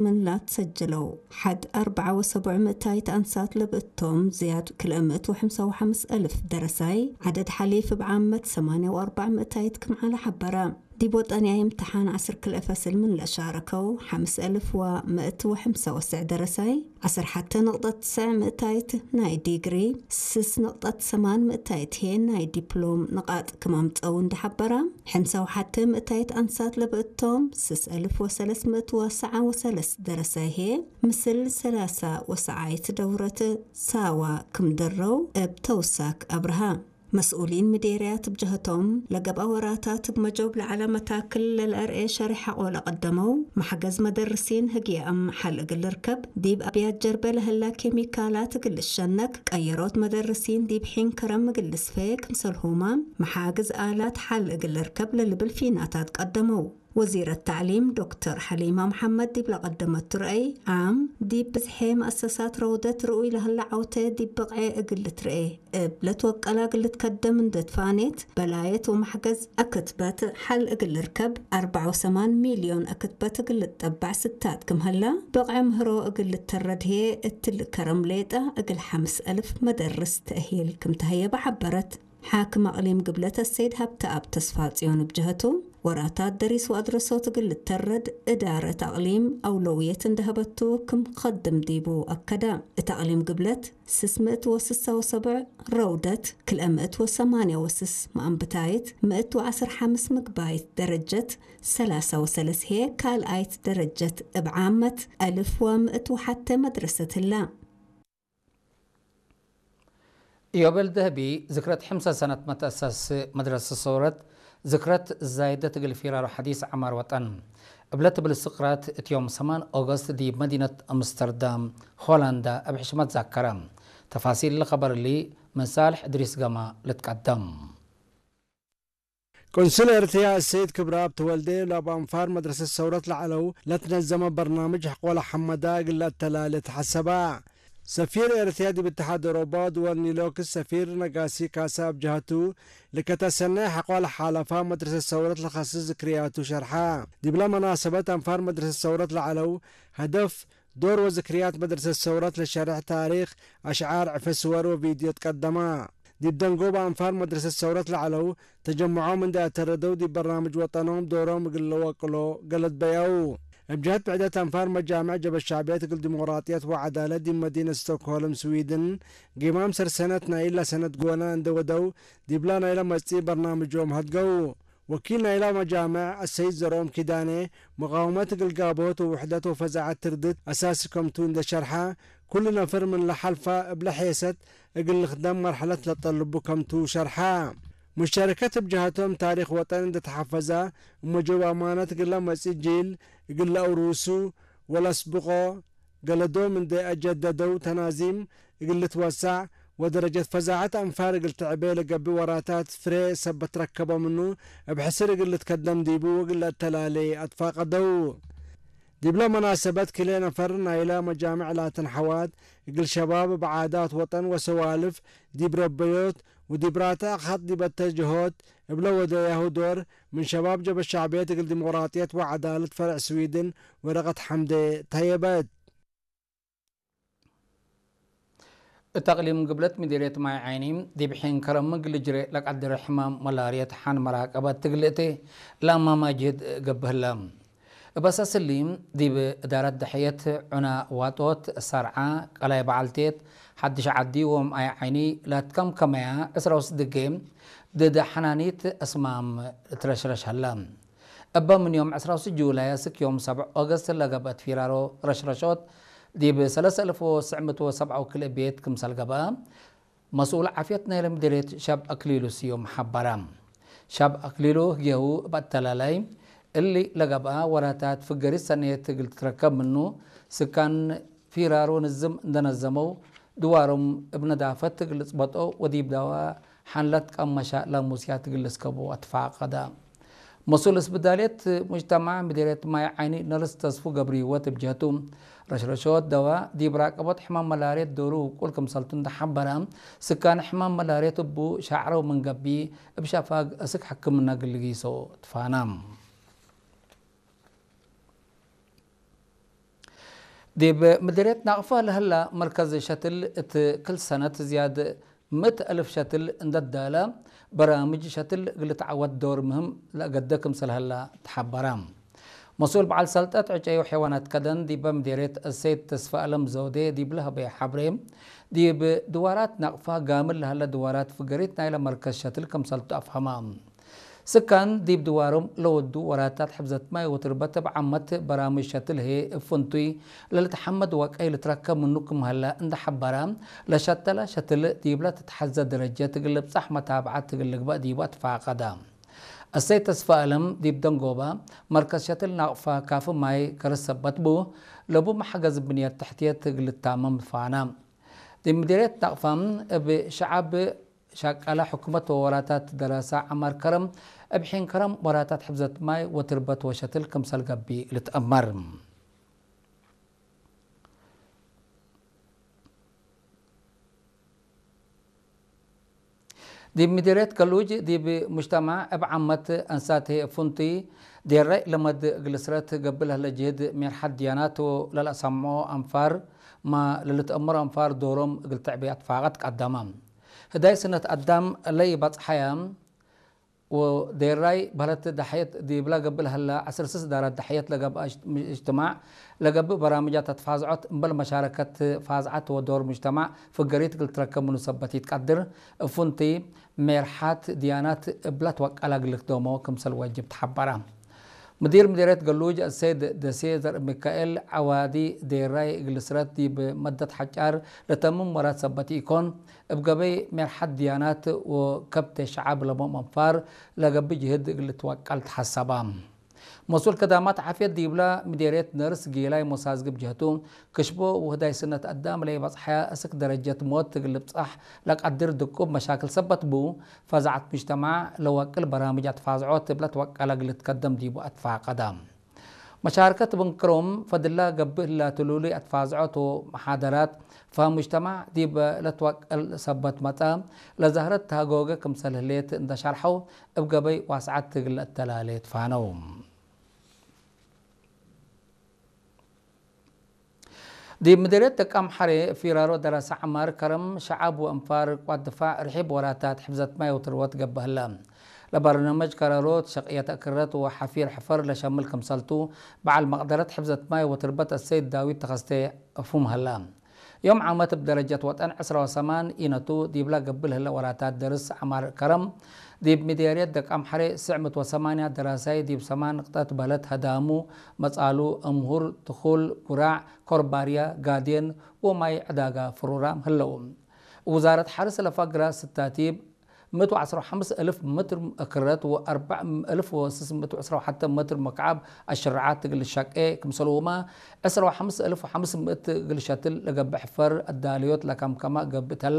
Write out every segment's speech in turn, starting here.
ምንላት ሰጀለው። ሓድ ኣርብዓ ወሰቡዕ ምእታይት ኣንሳት ለብእቶም ዝያድ ክልእምእት ወሕምሳ ወሓምስ እልፍ ደረሳይ፣ ዓደድ ሓሊፍ ብዓመት ሰማንያ ወኣርባዕ ምእታይት ክምዓላ ሓበራ። ዲብ ወጠንያ ይምትሓን ዓስር ክልኤ ፈስል ምን ለሻረከው፣ ሓምስ እልፍ ወምእት ወሕምሳ ወስዕ ደረሳይ፣ ዓስር ሓተ ንቕጠት ትስዕ ምእታይት ናይ ዲግሪ፣ ስስ ንቕጠት ሰማን ምእታይት ሄ ናይ ዲፕሎም ንቓጥ ክማምፀው እንዳሓበራ፣ ሕምሳ ወሓተ ምእታይት ኣንሳት ለብእቶም፣ ስስ እልፍ ወሰለስ ምእት ወሰዓ ወሰለስ ደረሳይ ሄ፣ ምስል ሰላሳ ወሰዓይት ደውረት ሳዋ ክምደረው እብ ተውሳክ ኣብርሃ። መስኡሊን ምዴርያት ብጀህቶም፣ ለገብኣ ወራታት ብመጆብ ለዓላ መታክል ለልአርኤ ሸሪሕ ሓቆ ለቐደመው፣ ማሕገዝ መደርሲን ህግያእም ሓል እግል ርከብ፣ ዲብ ኣብያት ጀርበ ለህላ ኬሚካላት እግል ልሸነክ፣ ቀየሮት መደርሲን ዲብ ሒን ከረም እግል ልስፈ ክምሰልሁማ፣ መሓግዝ ኣላት ሓል እግል ርከብ ለልብል ፊናታት ቀደመው። ወዚረት ታዕሊም ዶክተር ሓሊማ መሓመድ ዲብ ለቐደመቱ ረአይ፣ ዓም ዲብ ብዝሐ መእሰሳት ረውደት ርኡይ ለህላ ዓውተ ዲብ ብቕዐ እግል ልትርኤ እብ ለትወቀላ እግል ልትከደም እንደ ትፋኔት፣ በላየት ወማሕገዝ እክትበት ሓል እግል ልርከብ፣ ኣርብዓ ወሰማን ሚልዮን እክትበት እግል ልትጠባዕ ስታት ክምህላ፣ ብቕዐ ምህሮ እግል ልተረድ ህየ እትል ከረም ሌጠ እግል ሓምስ እልፍ መደርስ ተእሂል ክምተህየበ ሓበረት። ሓክም ኣቕሊም ግብለት ኣሰይድ ሃብተኣብ ተስፋጽዮን ብጀህቱ፣ ወራታት ደሪስ ወኣድረሶት እግል ልተረድ እዳረት ኣቕሊም ኣውለውየት እንደሀበቱ ክም ኸድም ዲቡ ኣከደ። እት ኣቕሊም ግብለት ስስ ምእት ወስሳ ወሰብዕ ረውደት፣ ክልኤ ምእት ወሰማንያ ወስስ መኣንብታይት፣ ምእት ወዓስር ሓምስ ምግባይት ደረጀት፣ ሰላሳ ወሰለስ ሄ ካልኣይት ደረጀት እብ ዓመት፣ ኣልፍ ወምእት ወሓተ መድረሰት ህላ። ኢዮቤል ደህቢ ዝክረት ሕምሳ ሰነት መተእሰስ መድረሰ ሰውረት ዝክረት ዛይደት እግል ፊራሮ ሐዲስ ዐማር ወጠን እብለ ትብል ስቅራት እት ዮም ሰማን ኦገስት ዲብ መዲነት ኣምስተርዳም ሆላንዳ እብ ሕሽመት ዛከረ። ተፋሲል ለኸበር እሊ ምን ሳልሕ እድሪስ ገማ ልትቀደም። ቆንስል ኤርትርያ እሰይድ ክብረኣብ ተወልደ፣ ላብ ኣንፋር መድረሰት ሰውረት ለዐለው ለትነዘመ በርናምጅ ሕቆለ ሐመዳ እግል ለአተላሌ ተሐሰባ። ሰፊር ኤርትርያ ዲብ እትሓድ ኤውሮጳ ድወል ኒሎክስ ሰፊር ነጋሲ ካሳ እብ ጀሀቱ፣ ልከተ ሰናይ ሕቆለ ሓለፋ መድረሰት ሰውረት ለኸስስ ዝክርያቱ ሸርሓ። ዲብለ መናሰበት ኣንፋር መድረሰት ሰውረት ለዐለው፣ ሀደፍ ዶር ወዝክርያት መድረሰት ሰውረት ለሸርሕ ታሪክ፣ አሽዓር፣ ዕፈ ስወር ወቪድዮ ትቀደማ። ዲብ ደንጎብ ኣንፋር መድረሰት ሰውረት ለዐለው ተጀምዖም እንዴ አተረደው ዲብ በርናምጅ ወጠኖም ዶሮም እግል ለወቅሎ ገለድ በያው። እብ ጀህት ብዕደት ኣንፋር መጃምዕ ጀበ ሻዕብየት እግል ዲሞቅራጥየት ወዐዳለት ዲብ መዲነት ስቶክሆልም ስዊድን ጊማም ሰርሰነት ናይላ ሰነት ጎነ እንዴ ወደው ዲብላ ናይላ መጽኢ በርናምጆም ሀድገው። ወኪል ናይላ መጃምዕ አሰይድ ዘርኦም ኪዳኔ፣ መቃወመት እግል ጋብሆት ወውሕደት ወፈዛዐት ትርድት አሳሲ ከምቱ እንዴ ሸርሐ፣ ኩሉ ነፍር ምን ለሐልፋ እብለ ሔሰት እግል ልክደም መርሐለት ለጠልቡ ከምቱ ሸርሐ። ሙሽተረከት እብ ጀሀቶም ታሪክ ወጠን እንዴ ተሐፈዛ፣ እብ መጆብ አማነት እግል ለመጽእ ጂል እግል ለአውሩሱ ወለአስብቆ፣ ገለዶም እንዴ አጀደደው ተናዚም እግል ልትወሳዕ ወደረጀት ፈዛዐት አንፋር እግል ትዕቤ ለገብእ ወራታት ፍሬ ሰበት ረከቦ ምኑ እብ ሕስር እግል ልትከደም ዲቡ ወእግል ለአተላሌ አትፋቀደው። ዲብለ መናሰበት ክልኤ ነፈር ናይለ መጃምዕ ላትን ሐዋት እግል ሸባብ እብ ዓዳት ወጠን ወሰዋልፍ ዲብ ረበዮት ወዲብ ራተ አኻት ዲብ አተጀሆት እብለ ወደያሁ ዶር ምን ሸባብ ጀበ ሻዕብየት እግል ዲሞቅራጥየት ወዐዳለት ፈርዕ ስዊድን ወረቀት ሐምዴ ተየበት። እት አቅሊም ግብለት ምዲርየት ማይ ዓይኒ ዲብ ሒን ከረም እግል ልጅሬ ለቀድር ሕማም መላርየት ሐን መራቀበት ትግልእቲ ለአማማጅህድ ገብህለ። እብ አሳስ እሊ፣ ዲብ እዳረት ደሐየት ዑና ዋጦት፣ ሰርዓ፣ ቀላይ በዓልቴት፣ ሐድሽ ዓዲ ወማይ ዓይኒ ላትከምከመያ ዕስራ ወስድጌ ድድ ሐናኒት አስማም ትረሽረሽ ሀላ። እበ ምን ዮም ዕስራ ወስድስ ጁላይ እስክ ዮም ሰብዕ ኦገስት ለገብአት ፊራሮ ረሽረሾት ዲብ ሰለሰ እልፍ ወትስዕ ምእት ወሰብዓ ወክልኤ ቤት ክምሰል ገብአ፣ መስኡል ዓፍየት ናይለ ምዴርየት ሻብ አክሊሉ ስዩም ሐበረ። ሻብ አክሊሉ ህግየሁ እብ አተላላይ፣ እሊ ለገብአ ወራታት ፍገሪት ሰኔት እግል ትትረከብ ምኑ፣ ስካን ፊራሮ ንዝም እንደነዘመው፣ ድዋሮም እብ ነዳፈት እግል ልጽበጦ ወዲብ ዳዋ ሐንለት ቀመሻ ላሙስያት እግል ልስከቦ አትፋቀደ። መስኡል እስብዳልየት ሙጅተማዕ ምዲርየት ማይ ዓይኒ ነርስ ተስፉ ገብርሂወት እብ ጀህቱ፣ ረሽረሾት ደዋ ዲብ ራቀቦት ሕማም መላርየት ዶሩ ውቁል ክምሰልቱ እንደሐበረ፣ ስካን ሕማም መላርየት እቡ ሻዕረው ምን ገብእ፣ እብ ሸፋግ እስክ ሕክምና እግል ልጊሶ ትፋና። ዲብ ምድርየት ናቕፋ ለሀላ መርከዝ ሸትል እት ክል ሰነት ዝያድ ምእት ኣልፍ ሸትል እንደዳለ በራምጅ ሸትል እግል ተዓወት ዶር ምህም ለአገደ ክምሰል ሀላ ተሓበራ። መስኡል በዓል ሰልጠት ዕጨዩ ሐይዋናት ከደን ዲበ ምዴርየት እሰይድ ተስፋ ኣለም ዘውዴ ዲብ ለሀበየ ሐብሬ፣ ዲብ ድዋራት ናቕፋ ጋምል ለሀለ ድዋራት ፍገሪት ናይለ መርከዝ ሸትል ክምሰልቱ ኣፍሀማ። ስካን ዲብ ድዋሮም ለወዱ ወራታት ሕፍዘት ማይ ወትርበት እብ ዓመት በራምጅ ሸትል ህዬ እብ ፍንቱይ ለልትሐመድ ወቀይ ልትረከብ ምኑ ክም ሀለ እንደ ሐበረ፣ ለሸተለ ሸትል ዲብለ ትትሐዘ ደረጀት እግል ልብጻሕ መታብዓት እግል ልግበእ ዲቡ አትፋቀደ። እሰይ ተስፋ ኣለም ዲብ ደንጎበ መርከዝ ሸትል ናቅፋ ካፊ ማይ ከርስ ሰበት ቡ፣ ለቡ መሐገዝ ብንየት ተሕትየት እግል ልታመም ፋነ። ዲብ ምዲርየት ናቅፋ እብ ሸዓብ ሻቀለ ሕኩመት ወወራታት ደራሳ ዐማር ከረም፣ እብ ሒን ከረም ወራታት ሕፍዘት ማይ ወትርበት ወሸትል ክምሰል ገብእ ልትአመር። ዲብ ምዲርየት ገሉጅ ዲብ ሙጅተማዕ እብ ዓመት አንሳት ህዬ ፍንቱይ ዴራይ ለመድ እግል ስረት ገብእ ለህለ ጅህድ ሜርሐት ድያናት ወለልአሰምዖ አንፋር ማ ለልትአመሮ አንፋር ዶሮም እግል ትዕቤ አትፋቀት ቀደመ። ህዳይ ስነት አዳም ለኢበጽሐየ ወዴራይ በህለት ደሐየት ዲብላ ገብእ ለሀላ ዐስር ስስ ዳራት ደሐየት ለገብአ እጅትማዕ ለገብእ በራምጃት አትፋዝዖት እምበል መሻረከት ፋዝዓት ወዶር ሙጅተማዕ ፍገሪት እግል ትረከብ ምኑ ሰበት ኢትቀድር፣ እፉንቲ ሜርሓት ድያናት እብላ ትወቀላ እግል ልክደሞ ክምሰል ወጅብ ተሐበራ። ምዲር ምዲርየት ገሉጅ አሰይድ ደሴ ዘርእ ሚካኤል፣ ዐዋዲ ዴራይ እግል ስረት ዲብ መደት ሐጫር ለተምም ወራት ሰበት ኢኮን፣ እብ ገበይ ሜርሓት ድያናት ወከብቴ ሸዓብ ለቦም አንፋር ለገብእ ጅህድ እግል ልትወቀል ተሐሰባ። መስኡል ከዳማት ዓፍየት ዲብላ ምዴርየት ነርስ ጌላይ ሞሳዝግብ ጀህቱ፣ ክሽቦ ውህዳይ ስነት አዳም ለኢበጽሐያ እስክ ደረጀት ሞት እግል ልብጻሕ ለቀድር ድቁብ መሻክል ሰበት ቡ፣ ፈዛዐት ሙጅተማዕ ለወቅል በራምጅ አትፋዝዖት እብለ ትወቀለ እግል ልትከደም ዲቡ አትፋቀደ። መሻርከት ብንክሮም ፈድላ ገብእ ህላቱ ልሉይ አትፋዝዖት ወመሓደራት ፈ ሙጅተማዕ ዲብ ለትወቀል ሰበት መጸ ለዛህረት ተሃጎገ ክምሰል ህሌት እንደ ሸርሐው እብ ገበይ ዋስዓት እግል ለአተላሌ ትፋነው። ዲብ ምድርየት ደቃምሐሬ ፊራሮ ደራሳ ዐማር ከረም ሸዓብ ወእንፋር ቋት ድፋዕ ርሒብ ወራታት ሕፍዘት ማይ ወትርወት ገብእ ህለ። ለበርናመጅ ከረሮት ሸቅየት እክረት ወሐፊር ሕፈር ለሸምል ክምሰልቱ በዓል መቅደረት ሕፍዘት ማይ ወትርበት አሰይድ ዳዊት ተኸስቴ እፉም ህለ። ዮም ዓመት እብ ደረጀት ወጠን ዕስራ ወሰማን ኢነቱ ዲብላ ገብእ ለህለ ወራታት ደርስ ዐማር ከረም ዲብ ምዴርየት ደቃምሐሬ ስዕ ምእት ወሰማንያ ደራሳይ ዲብ ሰማን ንቅጠት በለት ህዳሙ መጻሉ፣ እምሁር፣ ትኹል፣ ጉራዕ፣ ኮርባርያ፣ ጋዴን ወማይ ዕዳጋ ፍሩራም ህለው። ውዛረት ሐርስ ለፈግራ ስታቲብ ምእት ወዐስራ ወሐምስ እልፍ ምትር እክረት ወአርበዕ እልፍ ወስስ ምእት ወዕስራ ወሐተ ምትር መክዓብ አሽርዓት እግል ሸቄ ክምሰልውማ፣ ዕስራ ወሐምስ እልፍ ወሐምስ ምእት እግል ሸትል ለገብእ ሕፈር አዳልዮት ለከምከማ ገብእ ተለ።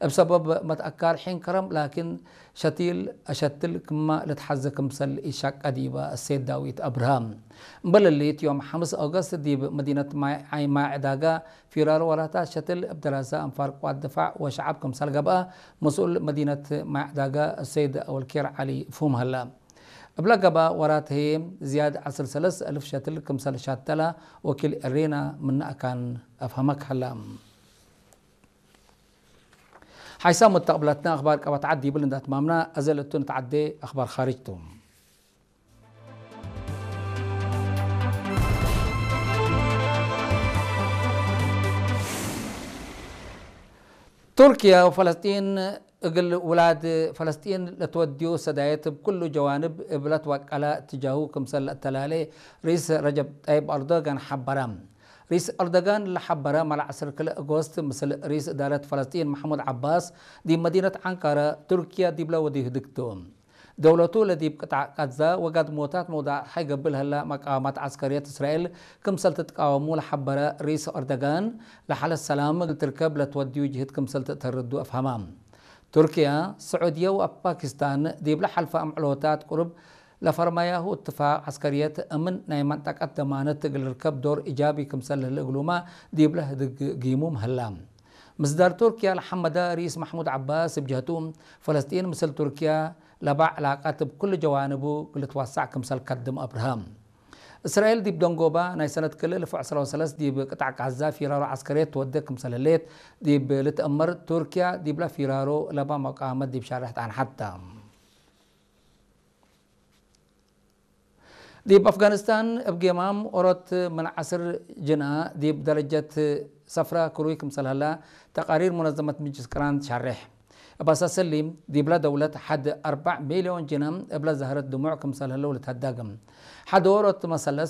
እብ ሰበብ መትአካር ሒን ከረም ላኪን ሸቲል አሸትል ክማ ልትሐዘ ክምሰል ኢሻቀ ዲበ እሴት ዳዊት አብርሃም። እምበል እሊት ዮም ሐምስ ኦገስት ዲብ መዲነት ማይ፣ ማይ ዕዳጋ ፊራር ወራታት ሸትል እብ ደራሳ አንፋር ቋት ድፋዕ ወሸዓብ ክምሰል ገብአ መስኡል መዲነት ማይ ዕዳጋ እሰይድ አወልኬር ዓሊ ፍሁም ሀለ። እብለ ገብአ ወራት ህዬ ዝያድ ዐስር ሰለስ እልፍ ሸትል ክምሰል ሻተላ ወኪል ኤሬና ምነ አካን አፍሀመክ ሀለ። ሓይሳም ሙተቅብላትና ኣኽባር ቀበት ዓድ ይብል እንዳትማምና፣ ኣዘለቱ ንተዓዴ ኣኽባር ኻርጅ ቱ። ቱርክያ ወፈለስጢን እግል ውላድ ፈለስጢን ለትወድዩ ሰዳየት እብ ኩሉ ጀዋንብ እብ ለትወቀለ እትጃሁ ክምሰል ለአተላሌ ርኢስ ረጀብ ጠይብ አርዶጋን ሐበረ። ርኢስ አርዶጋን ለሐበረ፣ ማል ዐስር ክልኤ ኦጎስት ምስል ርኢስ እዳረት ፈለስጢን መሕሙድ ዐባስ ዲብ መዲነት ዐንቃረ ቱርክያ ዲብለ ወዲህ ህድግቱ። ደውለቱ ለዲብ ቅጣዕ ቃዛ ወጋድሞታት መውዳዕት ሓይገብ ለህላ መቃወማት ዐስከርየት እስራኤል ክምሰል ትትቃወሙ ለሐበረ ርኢስ አርዶጋን፣ ለሓለት ሰላም እግል ትርከብ ለትወድዩ ጅህድ ክምሰል ትእተርዱ አፍሀማ። ቱርክያ፣ ስዑድየ ወፓኪስታን ዲብለ ሐልፈ አምዕሎታት ቁሩብ ለፈርማያሁ እትፋቅ ዐስከርየት እምን ናይ መንጠቀት ደማነት እግል ርከብ ዶር ኢጃቢ ክምሰል ለህለ እግሉማ ዲብለ ህድግ ጊሙም ህላ። ምስዳር ቱርክያ ለሐመዳ ርኢስ መሕሙድ ዐባስ እብ ጀህቱ፣ ፈለስጢን ምስል ቱርክያ ለባ ዕላቀት እብ ኩሉ ጀዋንቡ እግል ልትወሳዕ ክምሰል ከድም አብርሀ። እስራኤል ዲብ ደንጎባ ናይ ሰነት ክልል ፉዕ ሰላሳ ወሰለስ ዲብ ቅጣዕ ጋዛ ፊራሮ ዓስከርየት ትወደ ክምሰል ህለየት ዲብ ልትእመር፣ ቱርኪያ ዲብላ ፊራሮ ለባ መቃመት ዲብ ሻርሕ ተኣንሓታ። ዲብ ኣፍጋኒስታን እብ ጌማም ኦሮት ምን ዓስር ጅና ዲብ ደረጀት ሰፍራ ክሩይ ክምሰል ህላ ተቃሪር ሙነዘመት ምጅስ ቅራን ሻርሕ። እብ ኣሳሰሊ ዲብላ ደውለት ሓድ ኣርባዕ ሚልዮን ጅና እብላ ዛህረት ድሙዕ ክምሰል ህለው ልታዳግም። ሓድ ኦሮት መሰለስ